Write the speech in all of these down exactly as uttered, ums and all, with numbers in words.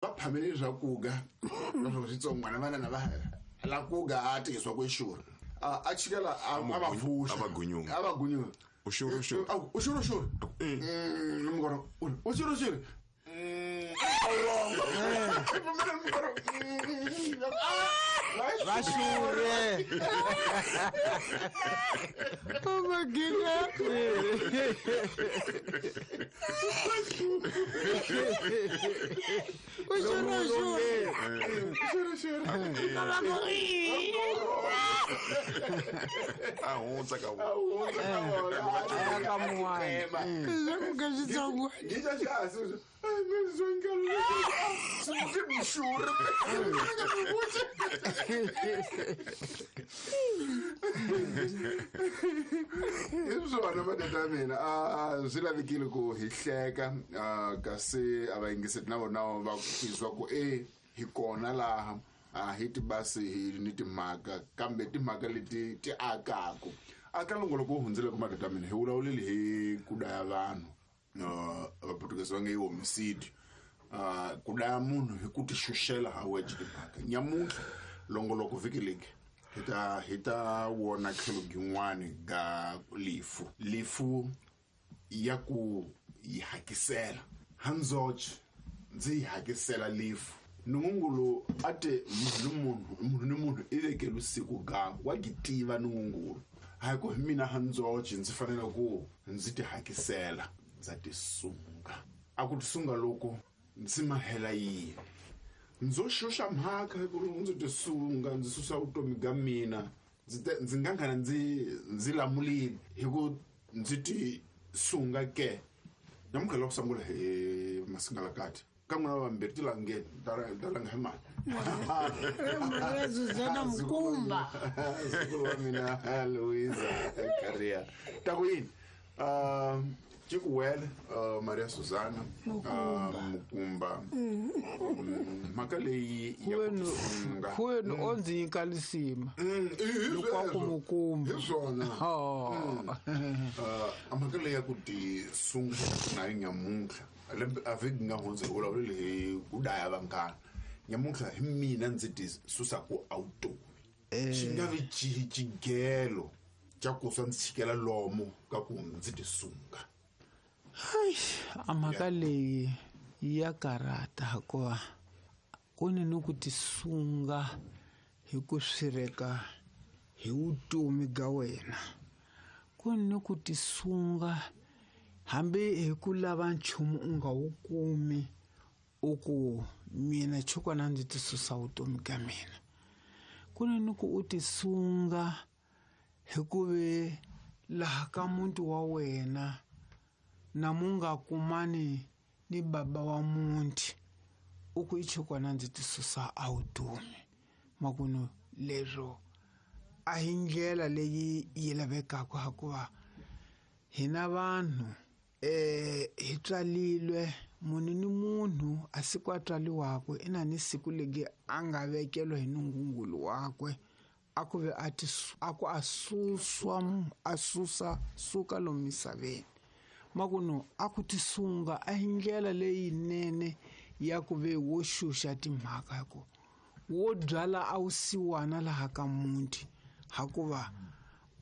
Va phamele swakuga leswaku switsongwana vana na va la kuga a tirhisiwa ku xurha a a chikela a A a va pfuxa a va gunyunga. a va gunyunga U xurhe, u xurhe. A ku, u xurhe xurhe Mm, mukoro u ri, u xurhe xurhe Mm, a wu wrong. Pfumela mukoro. Mm, ah, va xurhe Oh my goodness. U xurhe xurhe. Xurhe xurhe a hundza ka A hundza ka vona. A ya ka mun'wana. Leswaku ka xitsongwana. Ngixa xihansi Ai, mxurhe hi swona matata ya mina a a swi lavekile ku hi hleka a, kasi a va yingiseti na vona va tizwa ku e hi kona laha a hi tibasi hi ni timhaka kambe timhaka leti ti akaku aka longoloko wu hundzile ku matata ya mina hi vulavulile hi ku daya vanhu uh, vaportuguese va nge i homicide uh, ku daya munhu hi ku ti xuxela ha wexe timhaka nyamuntlha longoloko vhiki legi hi ta hi ta wona tlhelo byin'wani ga lifu lifu ya ku yi hakisela handzoxe ndzi yi hakisela lifu nungungulu a te munhu ni munhu munhu ni munhu i vekelu siku gakwe wa ki tiva nungungulu hayi ku hi mina handzoxe ndzi fanele ku ndzi ti hakisela ndza tisunga a ku tisunga loko ndzi mahela yini ndzo xuxa mhaka hi ku ri ndzi tisunga ndzi susa vutomi bya mina ndzi te- ndzi nga nghena ndzi ndzi lamulile hi ku ndzi ti sunga ke namuntlha la ku sungula hi masingalakati ka n'wina vambirhi ti langeni ta ta langa hi mali Maria Zuzana Mukumba. Zukulu wa mina Louisa Caria ta ku yini um Cikuwele uh, Maria Susana uh, Mukumba Mm, mhaka leyi ya ku Huwenu tisunga huwenu o ndzi nyika lisima Mm, i- hi Loko a ku sweswo. Mukumba. hi swona Oh. Uh, mhaka leyi ya ku tisunga na yi nyamuntlha lembe a vhiki nga hundza hi vulavulile hi ku daya vanghana nyamuntlha hi mina ndzi ti susaku a vutomi xi nga vi ci xigelo xa ku swa ndzi chikela lomo ka ku ndzi tisunga Ai, a mhaka leyi ya karata hikuva ku ni ni ku tisunga hi ku swireka hi vutomi bya wena ku ni ni ku tisunga hambi hi ku lava nchumu u nga wu kumi u ku mina chukwana ndzi ti susa vutomi ka mina ku ni ni ku u tisunga hi ku ve laha ka muti wa wena na mu nga kumani ni baba wa muti u ku i chukwana ndzi ti susa a vutomi makunu leswo a hi ndlela leyi yi lavekaka hikuva hina vanhu eh hi tswalilwe munhu ni munhu a siku a tswaliwako i na ni siku legi a nga vekeliwa hi nungungulu wakwe a ku ve a ti a ku a suswa a susa suka lomu misaveni makunu a ku tisunga a hi ndlela leyinene ya ku ve wo xuxa timhaka hi ku wo byala a wu siwana laha ka muti hakuva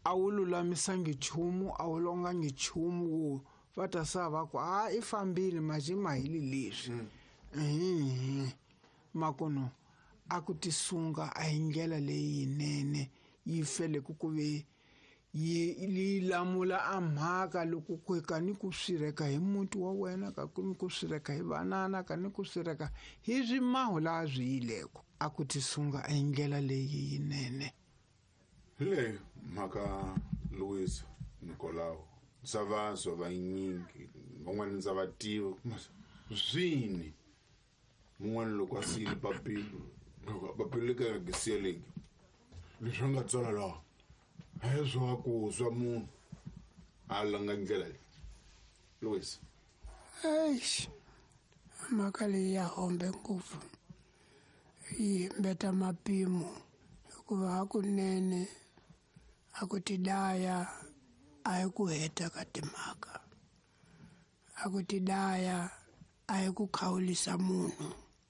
a wu lulamisangi nchumu a wu longangi nchumu wo va ta sa va ku a i fambile maje ma hili leswi mm. makuno a ku tisunga a hi ndlela leyinene yi fele ku ku ve yi yi lamula a mhaka loko ku ka ni ku swireka hi muti wa wena ka ku ni ku swireka hi vanana ka ni ku swireka hi swimahu laha swi yileko a ku tisunga a hi ndlela leyi yinene hi leyo mhaka Louisa Nicolau ndza vazwa vanyingi van'wana ndza va tiva swini mun'wana loko a siyile papilo loko papilo leka nga siyeleki leswi a nga tsala laha a hi swa ku swa munhu a langa ndlela leyi Louisa Eish. Mhaka leyi ya hombe ngopfu. Yi mbeta mapimo hikuva hakunene a ku tidaya a hi ku heta ka timhaka. A ku tidaya a hi ku khawulisa munhu.